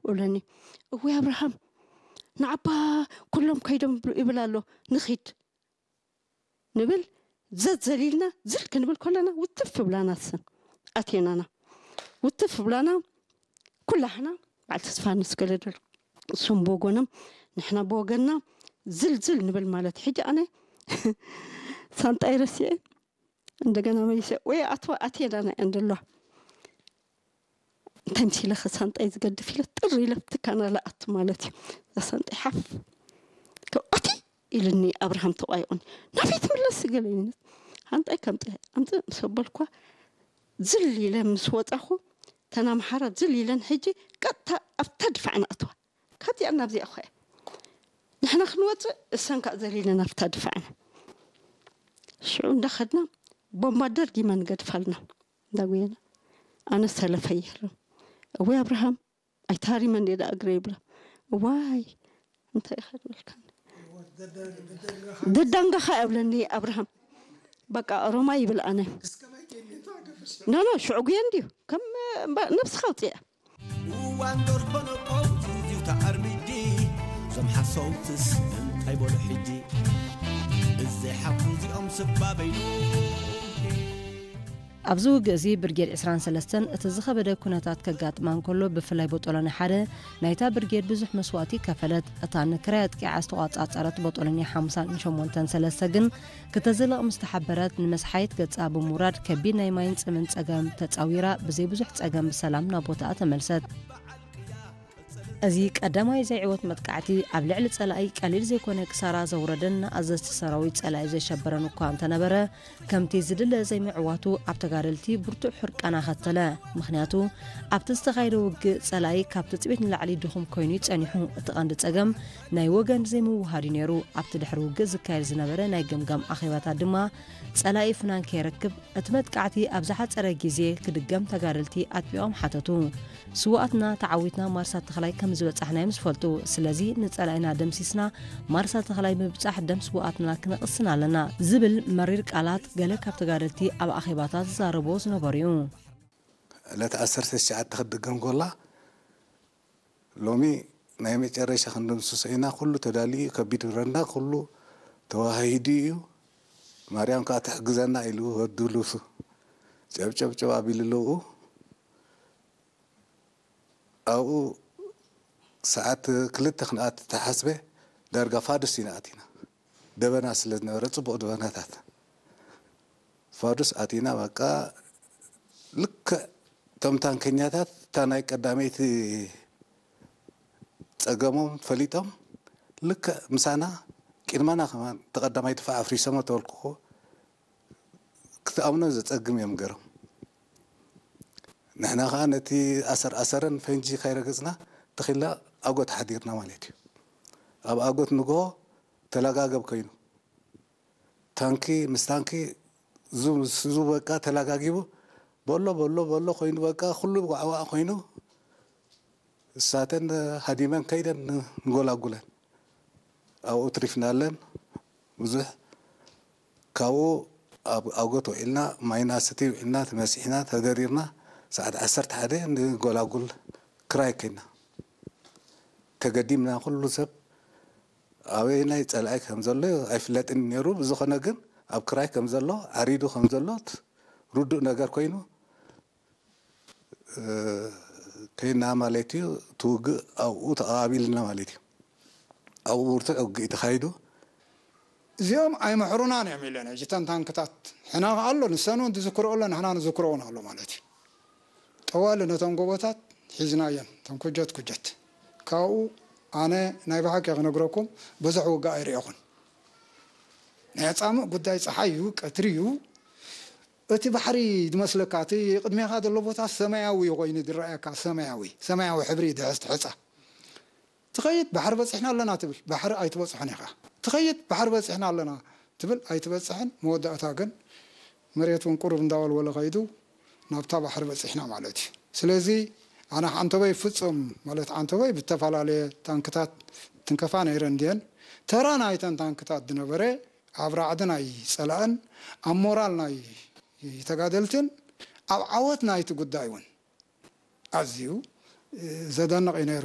እብለኒ። እወይ ኣብርሃም፣ ንዓባ ኩሎም ከይዶም ይብል ኣሎ፣ ንኺድ ንብል። ዘት ዘሊልና ዝል ክንብል ከለና ውትፍ ብላና፣ ሰን ኣቴናና ውትፍ ብላና። ኩላሕና በዓል ተስፋ ንስገደደሉ፣ እሶም ብወገኖም፣ ንሕና ብወገንና ዝልዝል ንብል ማለት። ሕጂ ኣነ ሳንጣይ ረሲዐ እንደገና መሊሰ ወይ ኣቶ ኣቴናና እየን ዘለዋ። እንታይ ምስ ኢለ ሳንጣይ ዝገድፍ ኢለ ጥር ኢለ ትካና ለኣቱ ማለት እዩ። እዛ ሳንጣይ ሓፍ ከ-፣ ኣቲ ኢልኒ ኣብርሃም ተቋይቑኒ። ናበይ ትምለስ ገለ ኢልኒ። ሓንጣይ ከምፀ ኣምፀ ምስ ኣበልኳ ዝል ኢለ ምስ ወፃኹ፣ ተን ኣምሓራ ዝል ኢለን ሕጂ ቀጥታ ኣብታ ድፋዕ ንኣትዋ። ካብዚኣ ናብዚኣ እኳ እያ። ንሕና ክንወፅእ እሰን ከዓ ዘሊለን ኣብታ ድፋዕና። ሽዑ እንዳኸድና ቦምባ ደርጊመን ገድፋልና እንዳጉየና። ኣነ ሰለፈ ይህርም። እወይ ኣብርሃም፣ ኣይታሪመን እየ ደኣ እግረ ይብላ። እዋይ፣ እንታይ ኢኻ ዝበልካኒ? ደዳንጋኻ እብለኒ ኣብርሃም። በቃ ኦሮማይ ይብል ኣነ። ኖ፣ ኖ፣ ሽዑ ጉየ እንድዩ። ከም፣ እምባ-፣ ነብስኻ ኣውፅኣ። እዋን ደርሆ ነቆ ዝዚው ተኣርሚዲ፣ እዞም ሓሰውትስ እንታይ በሉ ሕጂ? እዘይ ሓፉ እዚኦም ስባ በይኑ። ኣብዚ ውግእ እዚ ብርጌድ ዕስራን ሰለስተን እቲ ዝኸበደ ኩነታት ከጋጥማ እንከሎ፣ ብፍላይ ቦጦሎኒ ሓደ ናይታ ብርጌድ ብዙሕ መስዋእቲ ከፈለት። እታ ንክራይ ኣጥቂዓ ዝተቋጻጸረት ቦጦሎኒ ሓምሳን ሸሞንተን ሰለስተ ግን ክተዝልቕ ምስ ተሓበረት፣ ንመስሓይት ገጻ ብምውራድ ከቢድ ናይ ማይን ጽምን ጸገም ተጻዊራ፣ ብዘይ ብዙሕ ጸገም ብሰላም ናብ ቦታኣ ተመልሰት። እዚ ቀዳማይ ዘይዕወት መጥቃዕቲ ኣብ ልዕሊ ጸላኢ ቀሊል ዘይኮነ ክሳራ ዘውረደን ንኣዘዝቲ ሰራዊት ጸላኢ ዘሸበረን እኳ እንተነበረ፣ ከምቲ ዝድለ ዘይምዕዋቱ ኣብ ተጋደልቲ ብርቱዕ ሕርቃን ኣኸተለ። ምኽንያቱ ኣብቲ ዝተኻየደ ውግእ ጸላኢ ካብ ትጽቢት ንላዕሊ ድኹም ኮይኑ እዩ ጸኒሑ። እቲ ቀንዲ ጸገም ናይ ወገን ዘይምውሃድ እዩ ነይሩ። ኣብቲ ድሕሪ ውግእ ዝካየድ ዝነበረ ናይ ገምጋም ኣኼባታት ድማ ጸላኢ ፍናን ከይረክብ እቲ መጥቃዕቲ ኣብ ዝሓጸረ ግዜ ክድገም ተጋደልቲ ኣጥቢቖም ሓተቱ። ስውኣትና ተዓዊትና ማርሳ ተኽላይ ከም ዝበጻሕና እዮም ዝፈልጡ። ስለዚ ንጸላኢና ደምሲስና ማርሳ ተኽላይ ምብጻሕ ደም ስውኣትና ክነቕስን ኣለና ዝብል መሪር ቃላት ገለ ካብ ተጋደልቲ ኣብ ኣኼባታት ዝዛረብዎ ዝነበሩ እዩ። ዕለት ዓሰርተ ትሽዓተ ክትድገም ጎላ ሎሚ ናይ መጨረሻ ክንድምስሶ ኢና። ኩሉ ተዳልዩ፣ ከቢድ ረንዳ ኩሉ ተዋሂዱ እዩ። ማርያም ከኣ ትሕግዘና ኢሉ ወዲ ሉሱ ጨብጨብጨብ ኣቢሉ ኣለዉ። ኣብኡ ሰዓት ክልተ ክንኣት ተሓስበ፣ ዳርጋ ፋዱስ ኢና ኣቲና። ደበና ስለ ዝነበረ፣ ጽቡቕ ደበናታት። ፋዱስ ኣቲና፣ በቃ፣ ልክዕ እቶም ታንከኛታት፣ እታ ናይ ቀዳመይቲ ጸገሞም ፈሊጦም፣ ልክዕ ምሳና፣ ቅድመና ከማን፣ እቲ ቀዳማይ ድፋዕ ኣፍሪሶሞ ተበልኩኹ። ክትኣምኖ ዘጸግም እዮም ገሮም። ንሕና ኸኣ ነቲ ኣሰር ኣሰረን ፈንጂ ከይረገጽና ተኺልና ኣጎት ሓዲርና ማለት እዩ። ኣብ ኣጎት ንግሆ ተላጋገብ ኮይኑ፣ ታንኪ ምስ ታንኪ፣ ዙ ምስ ዙ በቃ ተላጋጊቡ፣ በሎ በሎ በሎ ኮይኑ፣ በቃ ኩሉ ዋዕዋዕ ኮይኑ፣ እሳተን ሃዲመን ከይደን ንጎላጉለን ኣብኡ ትሪፍናለን። ብዙሕ ካብኡ ኣብ ኣጎት ውዒልና፣ ማይ ናሰቲ ውዒልና፣ ተመሲሕና፣ ተደሪርና፣ ሰዓት ዓሰርተ ሓደ ንጎላጉል ክራይ ከይና። ተገዲምና፣ ኩሉ ሰብ ኣበየናይ ጸላኢ ከም ዘሎ ኣይፍለጥን ነይሩ። ብዝኾነ ግን ኣብ ክራይ ከም ዘሎ፣ ዓሪዱ ከም ዘሎ ርዱእ ነገር ኮይኑ፣ እ፣ ከይና ማለት እዩ። እቲ ውግእ ኣብኡ ተቐባቢልና ማለት እዩ። ኣብኡ ብርቱዕ ውግእ እዩ ተኻይዱ። እዚኦም ኣይምሕሩናን እዮም ኢለን። ሕጂ እተን ታንክታት ሕና ከኣ ኣሎ፣ ንሰን እውን ዝዝክርኦ ኣሎ፣ ንሕና ንዝክሮ እውን ኣሎ ማለት እዩ። ጠዋሊ ነቶም ጎቦታት ሒዝናየን፣ እቶም ኩጀት ኩጀት። ካብኡ ኣነ ናይ ብሓቂ ክነግረኩም ብዙሕ ውግእ ኣይርኤኹን። ናይ ኣጻምእ ጉዳይ ጸሓይ እዩ፣ ቀትሪ እዩ። እቲ ባሕሪ ዝመስለካ፣ እቲ ቅድሜኻ ዘሎ ቦታ ሰማያዊ ኮይኑ ዝረኣየካ፣ ሰማያዊ፣ ሰማያዊ ሕብሪ ድሕስቲ ሕጻ። ትኸይድ፣ ባሕሪ በጺሕና ኣለና ትብል፣ ባሕሪ ኣይትበጽሖን ኢኻ። ትኸይድ፣ ባሕሪ በጺሕና ኣለና ትብል፣ ኣይትበጽሕን። መወዳእታ ግን መሬት እውን ቁሩብ እንዳወልወለ ከይዱ ናብታ ባሕሪ በጺሕና ማለት እዩ። ስለዚ ኣነ ዓንተበይ ፍጹም ማለት ዓንተበይ ብዝተፈላለየ ታንክታት ትንከፋ ነይረን ድየን? ተራ ናይተን ታንክታት ዝነበረ ኣብ ራዕዲ ናይ ጸላእን ኣብ ሞራል ናይ ተጋደልትን ኣብ ዓወት ናይቲ ጉዳይ እውን ኣዝዩ ዘደንቕ እዩ ነይሩ።